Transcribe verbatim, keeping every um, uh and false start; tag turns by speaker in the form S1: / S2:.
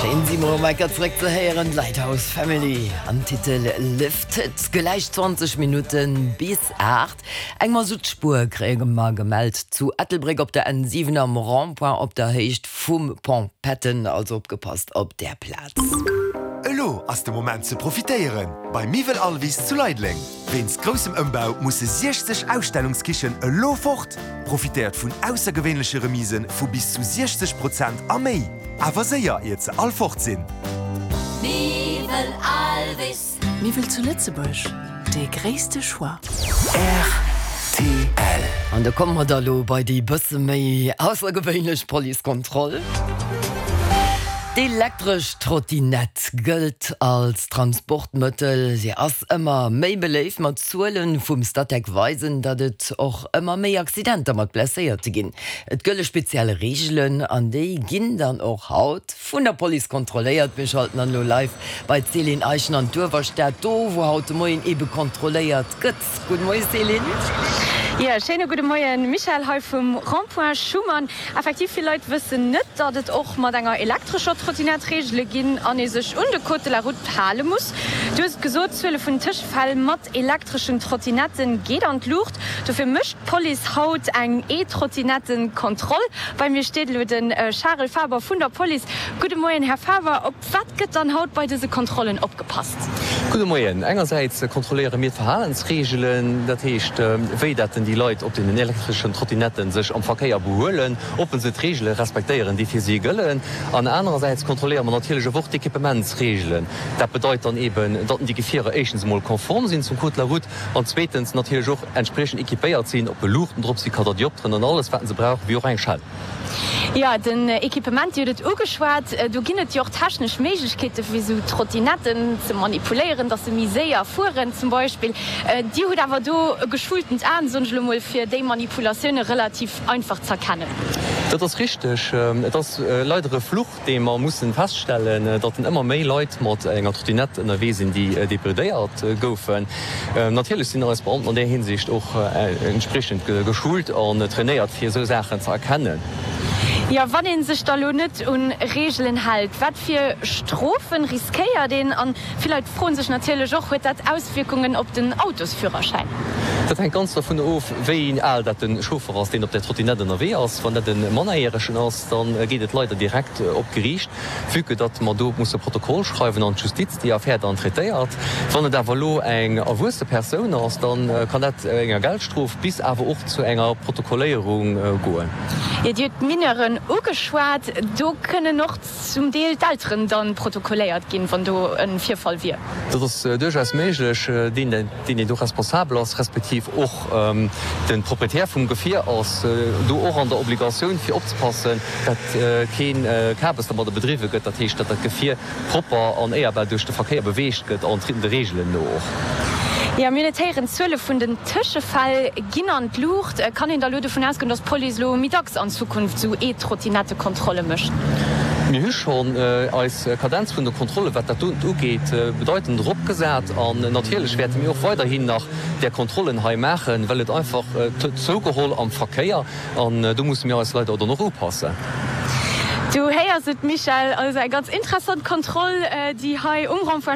S1: Schéin si mol enker zréck ze héieren, Lighthouse Family am Titel Lifted. Gläich zwanzeg Minutte bis aacht. Eng Masuttspuer kréie mer gemellt zu Ettelbréck op der N siwen am Rond-point op der Héicht vum Pont Patton, also opgepasst op där Plaz.
S2: Elo ass de Moment ze profitéieren bei Miwwel Alvis zu Leideleng. Wéinst groussem Ëmbau musse siechzeg Ausstellungskichen elo fort. Profitéiert vun aussergewéinleche Remise vu bis zu siechzeg Prozent a méi. Awer séier, iert se all fort sinn.
S3: Miwwel Alvis.
S4: Miwwel zu Lëtzebuerg, dee gréisste Choix.
S2: Rtl.
S1: An da komme mer da lo bei déi bësse méi aussergewéinlech Policekontroll. D'elektresch Trottinett gëllt als Transportmëttel. Si ass ëmmer méi beléift, ma d'Zuele vum Statec weisen, datt et och ëmmer méi Accidenter mat Blesséierte ginn. Et gëlle speziell Reegelen an déi ginn dann och haut vun der Police kontrolléiert. Mir schalten dann elo live bei d'Céline Eischen an d'Uewerstad, do wou haut de Moien ebe kontrolléiert gëtt. Gudde Moie Céline.
S5: Jo, schéine gudde Moien Michèle, hei vum Rond-point Schuman. Effektiv, vill Leit wëssen net, datt et och mat enger elektrescher Trottinett Reegele ginn an ee sech un de Code de la route hale muss. Du hues et gesot, d'Zuele vun Tëschefäll mat elektreschen Trottinette geet an d'Luucht. Dofir mécht d'Police haut eng E-Trottinettenkontroll. Bei mir steet elo de Charel Faber vun der Police. Gudde Moien, Här Faber. Op wat gëtt dann haut bei dëse Kontrollen opgepasst?
S6: Gudde Moien. Engersäits kontrolléiere mir d'Verhalensreegelen, dat heescht, wéi dat denn déi Leit op deenen elektreschen Trottinetten sech am Verkéier behuelen, ob se d'Reegele respektéieren, déi fir si gëllen. An anerersäits kontrolléiere mer natierlech och d'Equippementsreegelen. Dat bedeit dann eeben, datt déi Gefierer éischtens emol konform sinn zum Code de la route an zweetens natierlech och entspriechend equipéiert sinn, ob Luuchten drop sinn, Katadiopteren an alles, wat se brauchen, wéi och eng Schell.
S5: Jo, den Equipement, Dir hutt et ugeschwat, do ginn et jo och technesch Méiglechkeete fir esou Trottinetten ze manipuléieren, datt se méi séier fueren zum Beispill. Dir hutt awer do e geschultent Aen, soen ech elo mol, fir déi Manipulatioune relativ einfach z'erkennen.
S6: Dat ass richteg. Et ass leider e Fluch, dee mer mussen feststellen, datt ëmmer méi Leit mat enger Trottinett ënnerwee sinn, déi debridéiert goufen. Natierlech sinn eis Beamten an där Hinsicht och entspriechend geschult an trainéiert, fir esou Saachen ze erkennen.
S5: Jo, wann ee sech da lo net un Reegelen hält, wat fir Strofen riskéiert een? An vill Leit froen sech natierlech och, huet dat Auswierkungen op den Autosführerschäin?
S6: Dat hänkt ganz dovun of, wéi al dat de Chauffer ass, deen op där Trottinett ënnerwee ass. Wann dat e Mannerjäregen ass, da geet et leider direkt op d'Geriicht, vue que datt mer do musse Protokoll schreiwen an d'Justiz déi Affär dann traitéiert. Wann et awer elo eng erwuesse Persoun ass, da kann dat enger Geldstrof bis awer och zu enger Protokolléierung goen.
S5: Jo, Dir hutt d'Mineuren ugeschwat. Do kënnen och zum Deel d'Elteren da protokolléiert ginn, wann do e Virfall wier.
S6: Dat ass duerchaus méiglech. Deen, deen do responsabel ass, respektiv och de Proprietär vum Gefier ass do och an der Obligatioun, fir opzepassen, datt kee Kabes dermadder bedriwwe gëtt, dat heescht, datt dat Gefier propper an éierbar duerch de Verkéier beweegt gëtt an de Reegelen no och.
S5: Jo, mir hunn et héieren, d'Zuele vun den Tëschefäll ginn an d'Luucht. Kann een da elo dovun ausgoen, datt d'Police elo méi dacks an Zukunft esou E-Trottinettekontrolle mécht?
S6: Mir hu schonn eis Kadenz vun de Kontrollen, wat dat doten ugeet, bedeitend eropgesat. An natierlech wäerte mir och weiderhin nach där Kontrollen hei maachen, well et einfach, et huet zougeholl am Verkéier an do musse mir eis leider dann och upassen.
S5: Du héiers et, Michèle, also eng ganz interessant Kontroll, déi hei um Rond-point